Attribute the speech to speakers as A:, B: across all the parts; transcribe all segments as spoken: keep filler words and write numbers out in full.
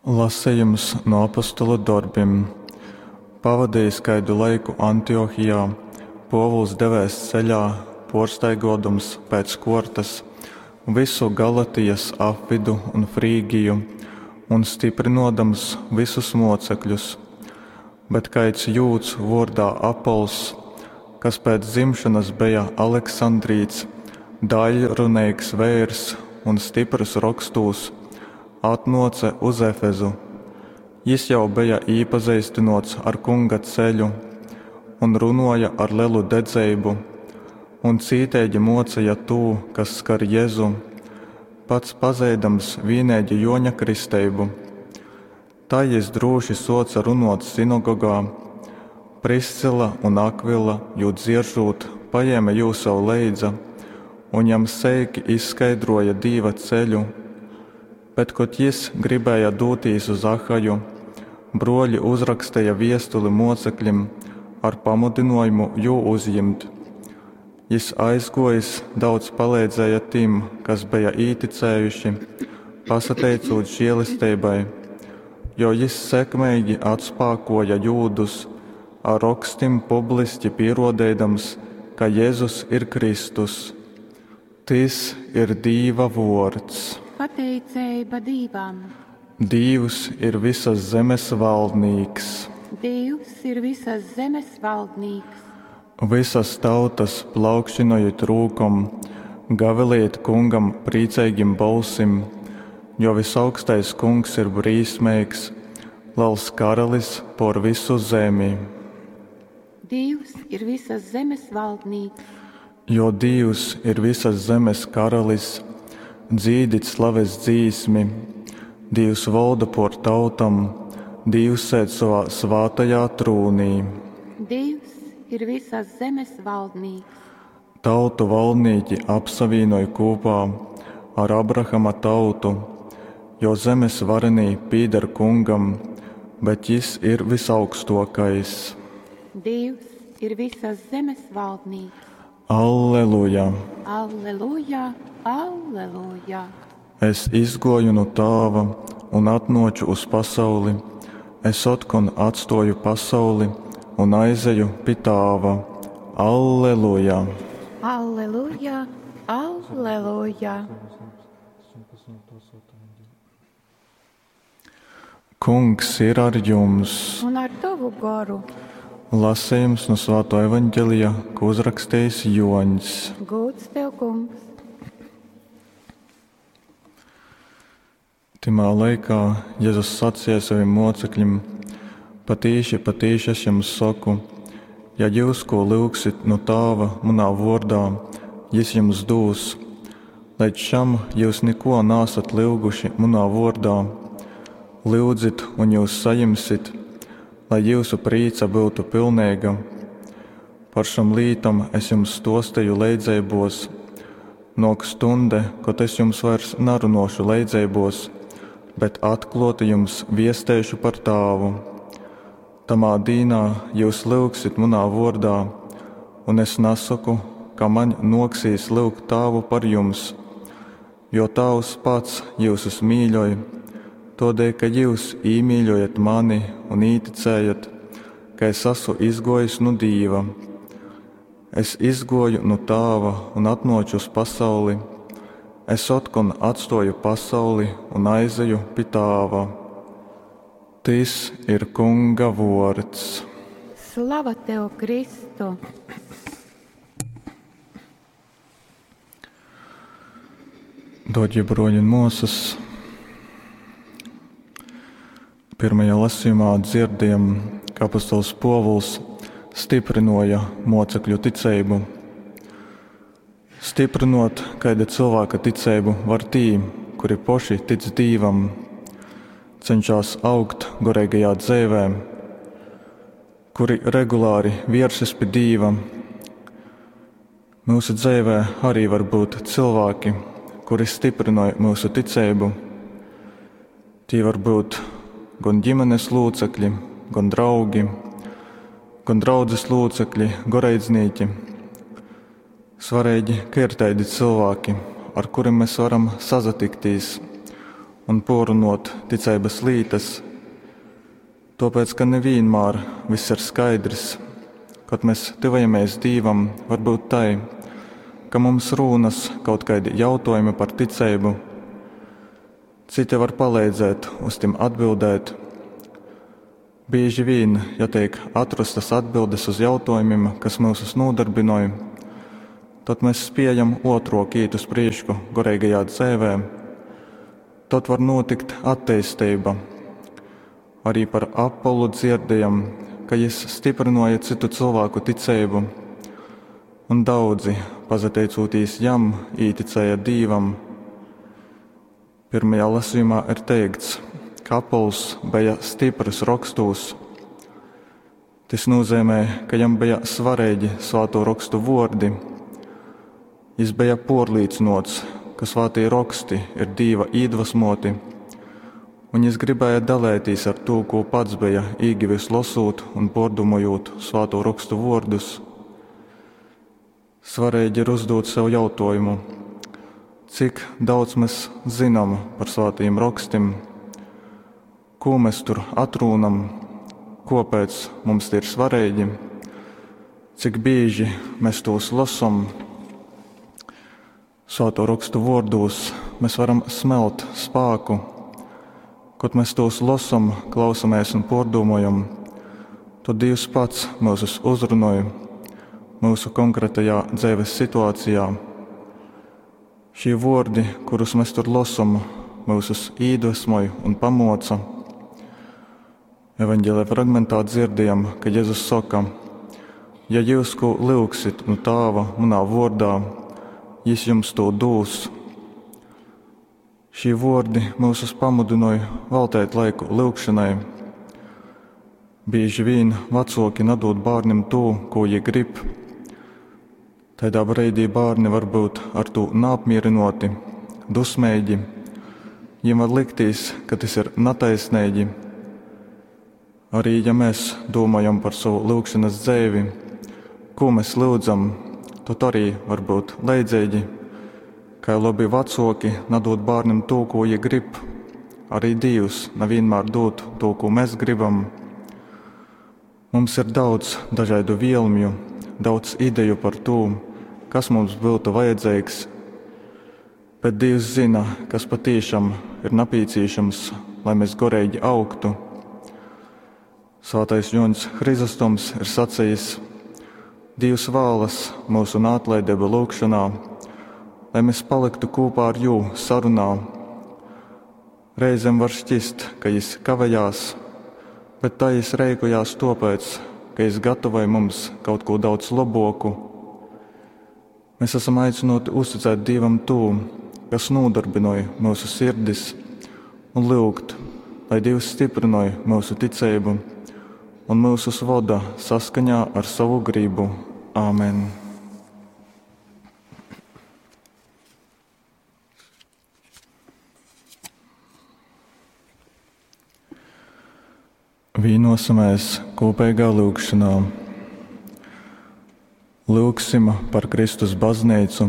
A: Lasejums no apostolu dorbim. Pavadejis kaidu laiku Antiohijā, Pōvuls devēs ceļā, pōrstaigōdams pēc kōrtas vysu Galatijas apvydu un Frygiju un styprynōdams vysus mōcekļus. Bet kaids jūds vōrdā Apols, kas pēc dzimšonas beja aleksandrīts, daiļruneigs veirs un styprys rokstūs, atnōce uz Efezu. Jys jau beja īpazeistynōts ar Kunga ceļu un runōja ar lelu dedzeibu un cīteigi mōceja tū, kas skar Jezu, pats pazeidams vīneigi Jōņa kristeibu. Tai jys drūši sōce runōt sinagogā. Priscilla un Akvila, jū dzieržūt, pajēme jū sev leidza un jam seiki izskaidrōja Dīva ceļu. Bet, kod jys gribēja dūtīs uz Achaju, brōļi uzraksteja viestuli mōceklim ar pamudynōjumu jū uzjimt. Jys aizgōjis daudz paleidzēja tim, kas beja īticējuši, pasateicūt žēlesteibai, jo jys sekmeigi atspākōja jūdus, ar rokstim publiski pīrōdeidams, ka Jezus ir Kristus. Tys ir Dīva vōrds.
B: Pateiceiba Dīvam.
A: Dīvs ir visas zemes valdnīks.
B: Dīvs ir visas zemes valdnīks.
A: Vysas tautas plaukšynojit rūkom, gavilejit Kungam prīceigim bolsim, jo Vysaugstais Kungs ir brīsmeigs, lels karalis pōr vysu zemi.
B: Dīvs ir visas zemes valdnīks.
A: Jo Dīvs ir visas zemes karalis, dzīdit slaves dzīsmi. Dīvs volda pōr tautom, Dīvs sēd sovā svātajā trūnī.
B: Dīvs ir visas zemes valdnīks.
A: Tautu valdnīki apsavīnoj kūpā ar Abrahama tautu, jo zemes varenī pīder Kungam, bet jys ir Vysaugstōkais.
B: Dīvs ir visas zemes valdnīks.
A: Alleluja!
B: Alleluja! Alleluja!
A: Es izgōju nu Tāva un atnōču uz pasauli, es otkon atstōju pasauli un aizeju pi Tāva. Alleluja!
B: Alleluja! Alleluja!
A: Kungs ir ar jums!
B: Un ar tovu goru!
A: Lasejums nu Svātō Evaņgelija, ko uzrakstījis Jōņs.
B: Gūds tev, Kungs!
A: Tymā laikā Jezus saceja savim mōcekļim: Patīši, patīši es jums soku, ja jūs ko lyugsit nu Tāva munā vōrdā, jys jums dūs. Leidz šam jyus niko naasat lyuguši munā vōrdā. Lyudzit, un jyus sajimsit, lai jyusu prīca byutu pilneiga. Par šom lītom es jums stōsteju leidzeibōs. Nōk stunde, kod es jums vairs narunōšu leidzeibōs, bet atklōti jums viesteišu par Tāvu. Tamā dīnā jyus lyugsit munā vōrdā, un es nasoku, ka maņ nōksīs lyugt Tāvu par jums, jo Tāvs pats jyusus mīļoj, tōdēļ, ka jyus īmīļojat mani un īticējat, ka es esmu izgōjis nu Dīva. Es izgōju nu Tāva un atnōču uz pasauli. Es otkon atstōju pasauli un aizeju pi Tāva. Tys ir Kunga vōrds.
B: Slava tev, Kristu!
A: Dārgie broļi un māsas, pirmajā lasījumā dzirdējam, ka apostols Pōvuls stiprināja mocekļu ticību. Stiprinot kaida cilvēka ticību var tī, kuri poši tic Dīvam, cenšas augt goreigajā dzīvē, kuri regulāri vieršas pie Dīva. Mūsu dzīvē arī var būt cilvēki, kuri stiprināja mūsu ticību. Tie var būt gan ģimenes locekļi, gan draugi, gan draudzes locekļi, goreidznīki. Svarīgi, ka ir tādi cilvēki, ar kuriem mēs varam sazatiktīs un pōrrunōt ticeibas lītas. Tōpēc, ka nevienmēr viss ir skaidrs, kad mēs tyvojamies Dīvam, var būt tai, ka mums rūnas kaut kaidi jautājumi par ticeibu. Citi var palīdzēt uz tim atbildēt. Bieži vien, ja tiek atrastas atbildes uz jautājumiem, kas mūsus nodarbinoj, tad mēs spējam otrok īt uz priešku goreigajā dzēvē. Tad var notikt attīstība. Arī par Apollu dzirdējam, ka jis stiprināja citu cilvēku ticību, un daudzi, pazateicūtīs jam, īticēja Dīvam. Pirmajā lasījumā ir teikts, ka Apols bija stiprs rakstūs. Tas nozīmē, ka jam bija svarīgi svāto rakstu vordi. Jis bija porlīcinots, ka svātī raksti ir Dīva iedvesmoti, un jis gribēja dalētīs ar to, ko pats bija īgivis losūt un pordomojot svāto rakstu vārdus. Svarīgi ir uzdot sev jautājumu, cik daudz mēs zinām par svātajiem rakstim, ko mēs tur atrūnam, kāpēc mums tie ir svarīgi, cik bieži mēs tos lasam. Svēto rakstu vārdos mēs varam smelt spēku. Kad mēs tos lasam, klausamies un pārdomājam, tad Dievs pats mūs uzrunāja mūsu konkrētajā dzīves situācijā. Šie vārdi, kurus mēs tur lasam, mūsus iedvesmoja un pamoca. Evanģēlē fragmentā dzirdējam, ka Jēzus saka: ja jūs ko lūgsit no Tāva manā vārdā, jis jums to dūs. Šie vārdi mūsus pamudināja veltīt laiku lūgšanai. Bieži vien vecāki nedod bērnam to, ko viņi grib. Tādā brīdī bērni var būt ar to neapmierināti, dusmīgi. Viņiem var likties, ka tas ir netaisnīgi. Arī ja mēs domājam par savu lūgšanas dzīvi, ko mēs lūdzam, tad arī var būt leidzīgi. Kā labi vecāki nedod bērnam to, ko viņi grib, arī Dievs nevienmēr dod to, ko mēs gribam. Mums ir daudz dažādu vielmju, daudz ideju par to, kas mums būtu vajadzīgs, bet Dievs zina, kas patīšām ir nepieciešams, lai mēs goreigi augtu. Svētais Joņs Hrizostoms ir sacījis: Dievs vēlas mūsu neatlaidību lūgšanā, lai mēs paliktu kopā ar jū sarunā. Reizēm var šķist, ka jis kavējās, bet tā jis reikojās topēc, ka jis gatavoja mums kaut ko daudz laboku. Mēs esam aicināti uzticēt Dievam to, kas nodarbinoja mūsu sirdis, un lūgt, lai Dievs stiprinoja mūsu ticību un mūsus voda saskaņā ar savu gribu. Āmen! Vīnosimies kopīgā lūgšanā. Lūgsim par Kristus baznīcu,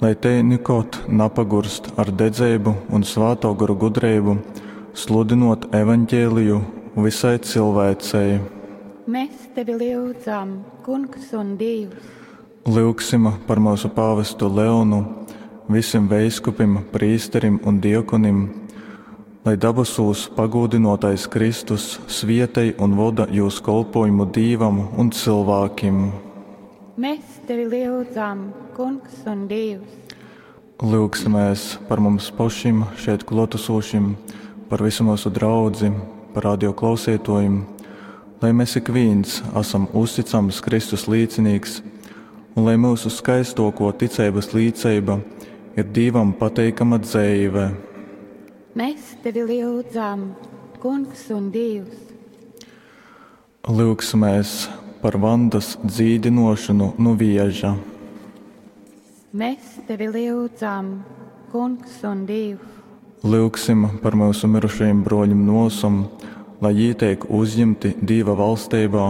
A: lai te nekot napagurst ar dedzību un svāto garu gudrību, sludinot evaņģēliju visai cilvēcei.
B: Mēs tevi lūdzam, Kungs un Dievs.
A: Lūgsim par mūsu pāvestu Leonu, visiem veiskupim, prīsterim un diekonim, lai dabasūs pagodinotais Kristus svietei un voda jūs kolpojumu Dīvam un cilvēkim.
B: Mēs tevi lūdzam, Kungs un Dievs.
A: Lūgsimies par mums pašiem šeit klātesošiem, par visu mūsu draudzi, par radio klausītājiem, lai mēs ik viens esam uzticams Kristus līdzinīgs un lai mūsu skaistoko ticības līdzība ir Dievam pateikama dzīve.
B: Mēs tevi lūdzam, Kungs un Dievs.
A: Lūgsimies par Vandas dzīdinošanu no vieža.
B: Mēs tevi lūdzam, Kungs un Dievs.
A: Lūgsim par mūsu mirušajiem broļiem nosum, lai jī tiek uzņemti Dieva valstībā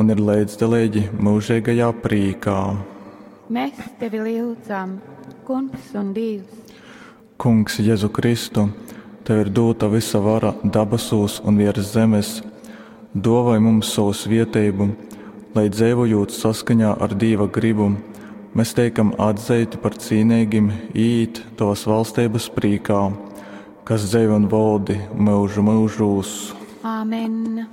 A: un ir līdzdalīgi mūžīgajā prīkā.
B: Mēs tevi lūdzam, Kungs un Dievs.
A: Kungs Jēzu Kristu, Tev ir dūta vysa vara dabasūs un viers zemes, duovoj mums sovu svieteibu, lai, dzeivojūt saskaņā ar Dīva grybu, mes teikam atzeiti par cīneigim īīt Tovas valsteibas prīkā, kas dzeivi un voldi myužu myužūs.
B: Āmen.